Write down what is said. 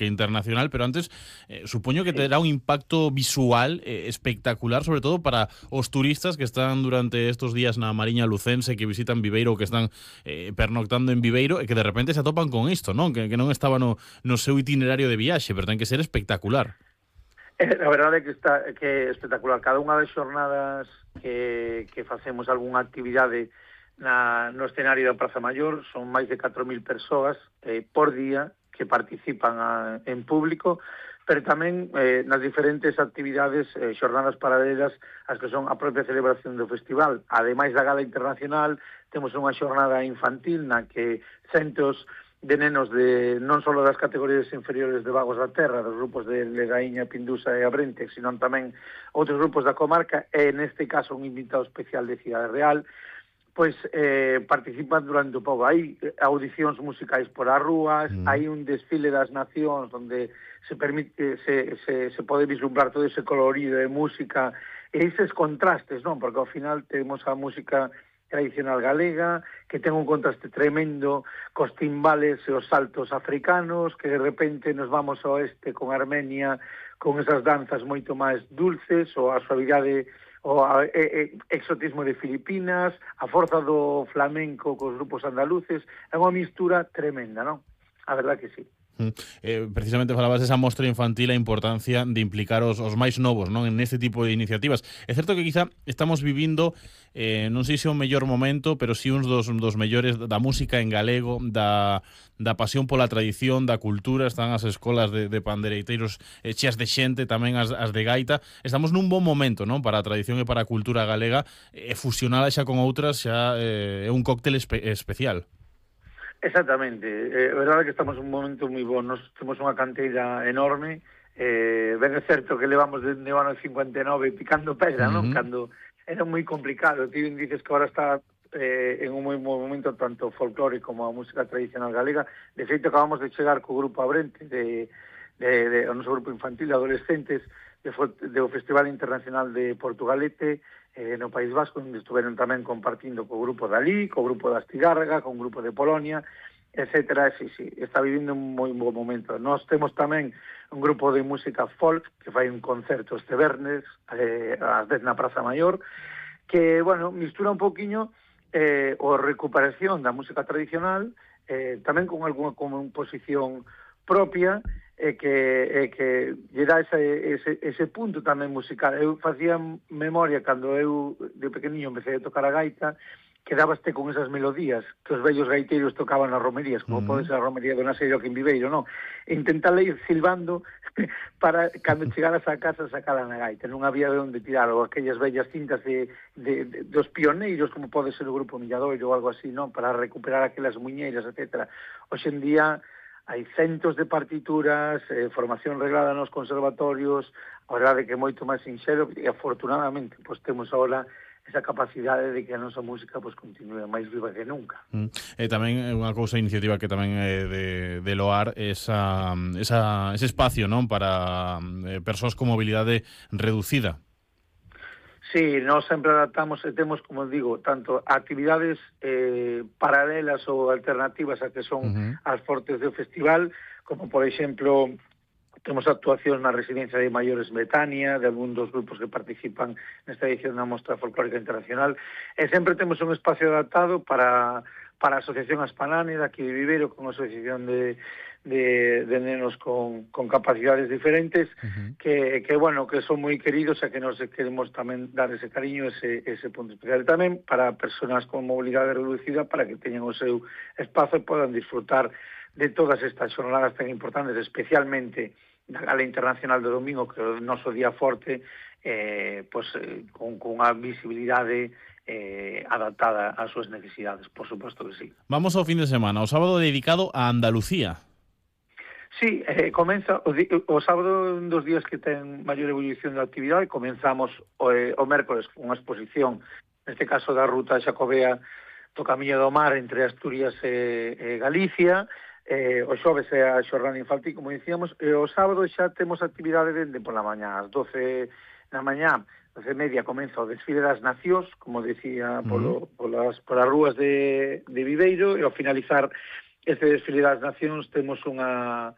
internacional, pero antes supoño que terá un impacto visual espectacular, sobre todo para os turistas que están durante estos días na Mariña Lucense, que visitan Viveiro, que están pernoctando en Viveiro, e que de repente se atopan con isto, non? Que non estaba no seu itinerario de viaxe, pero ten que ser espectacular. A verdade é que é espectacular. Cada unha das xornadas que facemos algunha actividade no escenario da Praza Maior son máis de 4.000 persoas por día que participan en público, pero tamén nas diferentes actividades, xornadas paralelas, as que son a propia celebración do festival. Ademais da gala internacional, temos unha xornada infantil na que centos de nenos de non só das categorías inferiores de Vagos da Terra, dos grupos de Legaíña, Pindusa e Abrente, sino tamén outros grupos da comarca, e neste caso un invitado especial de Cidade Real, pois participan durante o pobo. Hai audicións musicais por as rúas, hai un desfile das nacións onde se pode vislumbrar todo ese colorido de música e eses contrastes, non? Porque ao final temos a música tradicional galega, que ten un contraste tremendo cos timbales e os saltos africanos, que de repente nos vamos ao oeste con Armenia, con esas danzas moito máis dulces, ou a suavidade o exotismo de Filipinas, a forza do flamenco cos grupos andaluces, é unha mistura tremenda, non? A verdad que sí. Precisamente falabas desa mostra infantil, a importancia de implicar os máis novos, non, en este tipo de iniciativas. É certo que quizá estamos vivindo non sei se o mellor momento, pero si uns dos mellores da música en galego, da pasión pola tradición, da cultura. Están as escolas de pandereiteiros cheas de xente, tamén as de gaita. Estamos nun bon momento, non, para a tradición e para a cultura galega, e fusionada xa con outras xa é un cóctel especial. Exactamente, é verdade que estamos en un momento moi bo. Nos temos unha canteira enorme, ben é certo que levamos desde o ano 59 picando pedra, non? Cando era moi complicado. Ti dices que agora está en un moi bo momento tanto o folclore como a música tradicional galega. De feito, acabamos de chegar co grupo Abrente o noso grupo infantil de adolescentes do Festival Internacional de Portugalete no País Vasco, onde estuveron tamén compartindo co grupo de Alí, co grupo de Astigarraga, con grupo de Polonia, etcétera. Sí, está vivindo un moi bo momento. Nós temos tamén un grupo de música folk que fai un concerto este vernes ás 10 na Praza Maior, que, bueno, mistura un poquinho a recuperación da música tradicional, tamén con algunha composición propia, que lle dá ese punto tamén musical. Eu facía memoria cando eu de pequeniño empecé a tocar a gaita, quedabaste con esas melodías que os vellos gaiteiros tocaban nas romerías, como pode ser a romería do Naseiro aquí en Viveiro, non? E intentarle ir silbando para cando chegaras a casa sacala na gaita. Non había de onde tirar, ou aquellas vellas cintas dos pioneiros, como pode ser o grupo Milladoiro ou algo así, non? Para recuperar aquelas muñeiras, etcétera. Hoxe en día hai centos de partituras, formación reglada nos conservatorios, a verdade que é moito máis sinxelo, e afortunadamente pois temos agora esa capacidade de que a nosa música pois continue máis viva que nunca. Tamén é unha cousa, iniciativa que tamén é de loar ese espacio, non, para persoas con mobilidade reducida. Sí, nós sempre adaptamos e temos, como digo, tanto actividades paralelas ou alternativas a que son as fortes do festival, como, por exemplo, temos actuacións na Residencia de Maiores Betania, de algún dos grupos que participan nesta edición da Mostra Folclórica Internacional, e sempre temos un espacio adaptado para a Asociación Aspanane, daqui de Viveiro, con a Asociación de nenos con capacidades diferentes, que bueno, que son moi queridos e que nos queremos tamén dar ese cariño, ese punto especial. Tamén para persoas con mobilidade reducida, para que teñan o seu espazo e podan disfrutar de todas estas xornadas tan importantes, especialmente na Gala Internacional do domingo, que é o noso día forte, con unha visibilidade adaptada ás súas necesidades, por suposto que sí. Vamos ao fin de semana, o sábado dedicado a Andalucía. Sí, comeza o sábado, un dos días que ten maior evolución da actividade. Comenzamos o mércoles con unha exposición, neste caso da ruta xacobea do Camiño do Mar entre Asturias e Galicia. O xoves é a xornada infantil, como dicíamos, e o sábado xa temos actividade dende pola mañá, ás 12 da mañá, 12:30 comeza o desfile das nacións, como decía, polas rúas de Viveiro, e ao finalizar este desfile das nacións temos unha